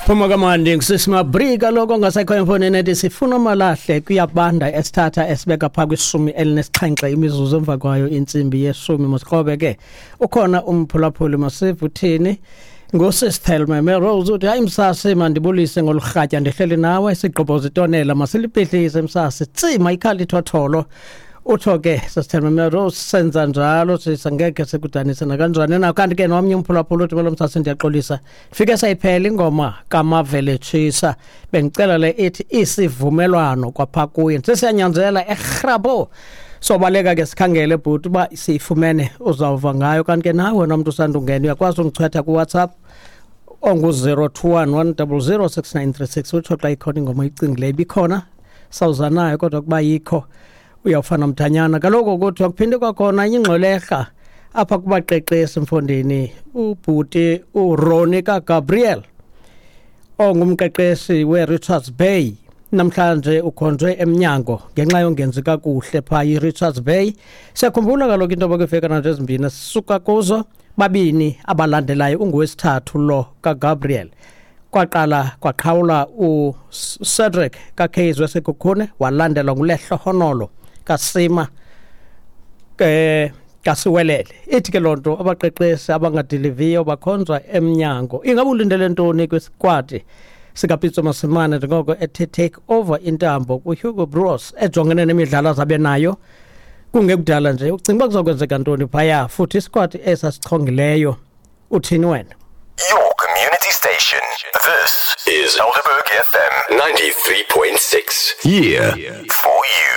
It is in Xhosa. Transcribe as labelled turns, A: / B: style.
A: Phuma kamandi ngusisimabrika kaloku ongasekhoyo emfonini ethi sifuna amalahle kuyabanda esithatha esibeka phaa kwishumi elinesixhenxe imizuzu emva kwayo intsimbi yeshumi. Masikrobe ke, ukhona umphulaphuli, masive uthini. Ngusisithelme Merose uthi, "Hayi msasi, mandibulise ngolurhatya, ndihleli nawe sigqobhoza itonela, masiliphihlise msasi, tsima ikhala ithotholo." Utsho ke sisithelme Merose, senza njalo sisa, ngekhe sikudanise nakanjani na. Kanti ke nomnye umphulaphula uthi, "Molo msasi, ndiyaxolisa, fike sayiphela ingoma kaMavele Tshisa, bendicela le ithi Isivumelwano kwapha kuye." Sesiyanyanzela erhrabo, sobaleka ke sikhangele bhuti uba siyifumene, uzawuva ngayo. Kanti ke nawe wena mntu usandungena uyakwazi undichwetha kuWhatsApp ongu-021 100 6936, utsho xa ikhona ingoma oyicingileyo. Ibikhona sawuza nayo, kodwa kuba yikho uyawufana mthanyana. Kaloku kuthiwa kuphinde kwakhona enye ingxwelerha apha kubaqeqeshi mfondini, ubhuti uRonnie kaGabriel ongumqeqeshi we-Richards Bay namhlanje ukhonjwe emnyango ngenxa yongenzi kakuhle phaa i-Richards Bay. Siyakhumbula kaloku into yoba kwiivekana nje ezimbini sisuka kuzo, babini abalandelayo, ungowesithathu lo kaGabriel. Kwaqala kwaqhawula uCedric kaCase weSekhukhune, walandelwa nguLehlohonolo kaSima ke kasiwelele. Ithi ke loo nto abaqeqeshi abangadiliviyo bakhonjwa emnyango. Ingaba ulindele ntoni kwisikwati sikaPitso Mosimane njengoko ethe take over intambo kuHugo Broos, ejongene nemidlalo azabe nayo kungekudala nje? Ucinga uba kuzokwenzeka ntoni phaya, futhi isikwati esasichongileyo uthini wena?
B: Your community station. This is Helderberg FM
C: 93.6.
B: Yeah. For you.